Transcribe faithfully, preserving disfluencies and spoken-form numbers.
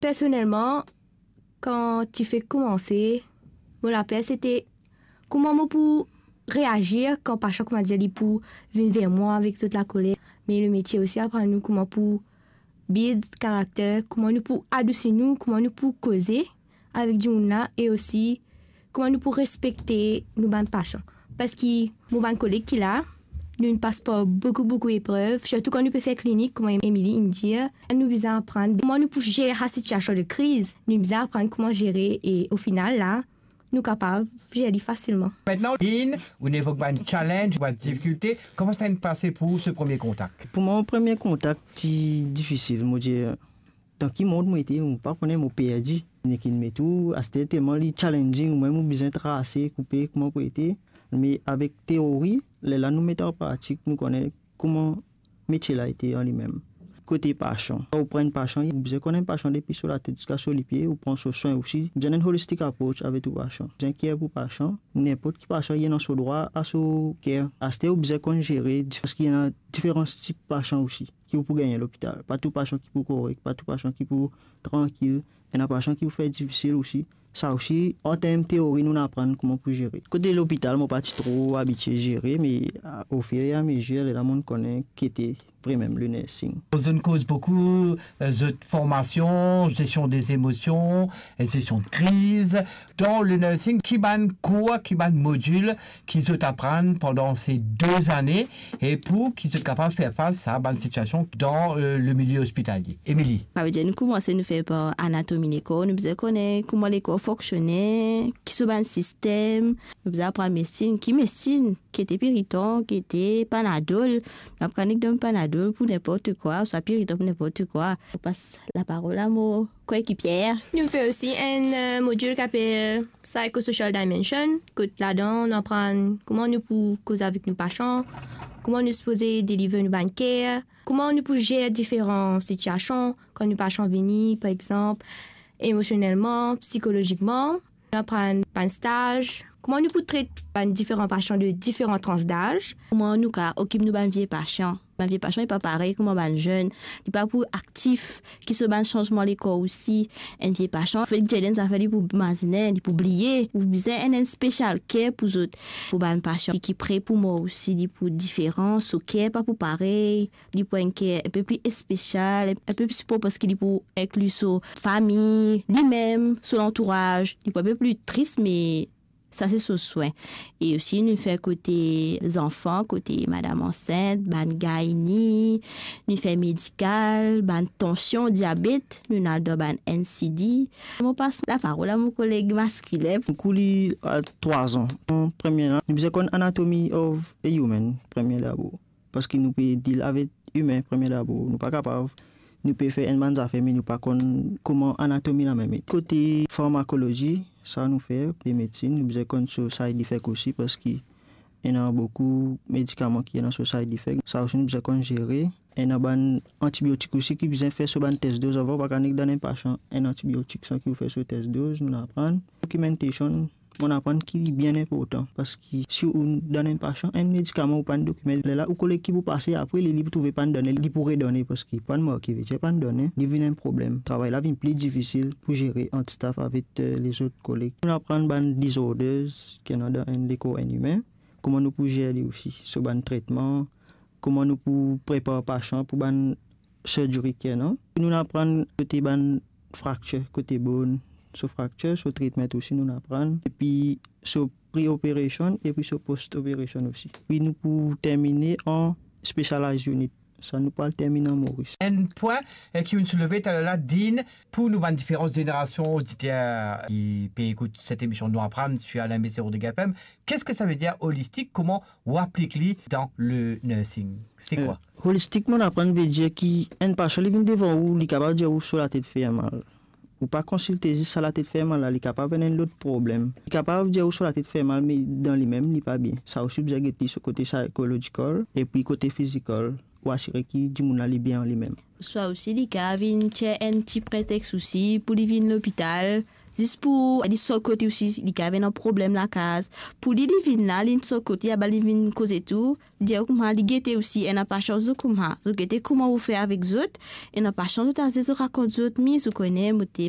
Personelman, kan ti fek koumanse, mo laper sete kouma mo pou reazir kan pasian, koumadir, li pou vinn ver mwa avek zot lakoler. Me lemetie osi aprann nou kouma pou build karakter, kouma nou pou adousi nou, kouma nou pou koze avek dimoun la, e osi kouma nou pou respekte nou bann pasian. Parski mo bann koleg ki la, nou inn pas par boukou, boukou eprev, sirtou kan nou pe fer klinik, kouma Emily inn dir, nou bizin aprann kouma nou pou zer sa sitiasion de kriz, nou bizin aprann kouma zere, e o final la, nou kapav zer li fasilman. Mintnan, Lynn, ou inn evok bann challenge, bann difikilte, kouma sa inn pase pou ou so premie kontak? Pou mwa, premie kontak ti difisil, mo dir, dan ki mond mo ete, mo pa kone, mo perdi. Nek inn met ou, aster telman li challenging, ou mem ou bizin trase, koupe, kouma pou ete. Me avek teori, lerla nou met an pratik, nou kone kouma metie la ete an limem. Kote pasian, kan ou pran enn pasian, ou bizin konn enn pasian depi so latet ziska so lipie, ou pran so swin osi. Bizin enn holistic approach avek tou pasian. Bizin care pou pasian, ninport ki pasian, li ena so drwa a so care. Aster ou bizin konn zere, parski ena diferan tip pasian osi ki ou pou gagne lopital. Pa tou pasian ki pou korek, pa tou pasian ki pou trankil, ena pasian ki pou fer difisil osi. Sa osi, an term teori, nou aprann kouma pou zere. Kote lopital, mo pa ti tro abitie zere, me, a, ofir e amezir, lerla mo'nn kone ki ete vremem le nursing. Zot inn koz boukou, e, zot formasion, zestion de zemosion, e zestion de kriz. Dan le nursing, ki bann kour, ki bann modil ki zot aprann pandan se de zane, e pou ki zot kapav fer fas a bann sitiasion dan, e, le milie ospitalie. Emily. Savedir nou koumanse nou fer par anatomi lekor, nou bizin kone kouma lekor fonksione, ki so bann sistem, nou bizin aprann medsin, ki medsin, ki ete Piriton, ki ete Panadol, nou aprann nek donn Panadol pou ninport kwa, ouswa Piriton pou ninport kwa. Mo pas laparol a mo koekipie. Nou fer osi enn, e, modil ki apel Psychosocial Dimension, kot ladan nou aprann kouma nou pou koz avek nou pasian, kouma nou sipoze deliver nou bann care, kouma nou pou zer diferan sitiasion kan nou pasian vini, par exanp, emosionelman, psikolozikman. Nou aprann bann staz, kouma nou pou tret bann diferan pasian de diferan trans daz, kouma nou kapav okip nou bann vie pasian. Bann vie pasian, li pa parey kouma bann zenn, li pa pou aktif, ki so bann sanzman lekor osi. Enn vie pasian, fek dir li enn zafer, li pou mazinen, li pou bliye. Ou bizin enn, enn special care pou zot. Pou bann pasian ki, ki pre pou mor osi, li pou diferan, so care pa pou parey, li pou enn care enpe pli espesial, enpe pli sipor, parski li pou inkli so fami, limem, so lantouraz, li pou enpe pli tris, me sa se so swin. E osi nou fer kote zanfan, kote madam ansint, bann gynae, nou fer medikal, bann tansion, diabet, nou al dan bann N C D. Mo pas laparol a mo koleg maskilen. Kou li a trwa an. Premie la, nou bizin konn anatomy of a human, premie dabor. Parski nou pe deal avek imin premie dabor. Nou pa kapav, nou pe fer enn bann zafer, me nou pa konn kouma anatomi lamem ete. Kote farmakolozi, sa nou fer, de medsin, nou bizin konn so side effect osi, parski ena boukou medikaman ki ena so side effect. Sa osi nou bizin konn zere. Ena bann antibiotik osi ki bizin fer so bann test doz avan, pa kapav nek donn enn pasian enn antibiotik san ki ou fer so test doz, nou aprann. Documentation, mo'nn aprann ki bien inportan, parski si ou donn enn pasian enn medikaman, ou pa'nn dokimenn, lerla ou koleg ki pou pase apre li, li pou trouve pa'nn donn, li pou redonn, parski pa'nn marke, vedir pa'nn donn, li vinn enn problem. Travay la vinn pli difisil pou zere ant staff avek, eh, lezot koleg. Nou aprann bann disorders ki ena dan enn lekor enn imin, kouma nou pou zer li osi, so bann tretman, kouma nou pou prepar pasian pou bann surgery ki ena. Nou aprann kote bann fracture, kote bone, so fracture, so treatment osi nou aprann. Epi so pre-operation, epi so post-operation osi. Epi nou pou termine an specialized unit. Sa nou pou al termine an Moris. Enn pwin, eh, ki ou'nn souleve taler la, Dean, pou nou bann diferan zenerasion oditer ki pe ekout set emision Nou Aprann sir Alain Messi Rodrigues F M, qu'est-ce que ça veut dire holistique? Kouma ou aplik li dan le nursing? Se kwa? Eh, holistik, mo'nn aprann vedir ki enn pasian li vinn devan ou, li kapav dir ou so latet fer mal. Ou pa konsilte zis sa latet fer mal la, li kapav ena enn lot problem. Li kapav dir ou so latet fer mal, me dan limem li pa bien. Sa osi ou bizin get li so kote psychological, epi kote physical, ou asire ki dimoun la li bien an limem. Swa osi li kapav vinn tir enn ti pretext osi pou li vinn lopital, Zis pou li sort kot li osi, li kapav ena problem lakaz. Pou li, li vinn la, li sort kot li, aba li vinn koze tou. Dir kouma li gete osi, ena pa sans zot kouma. Zot gete kouma ou fer avek zot, ena pa sans zot aze zot rakont zot, mi zot kone, mo te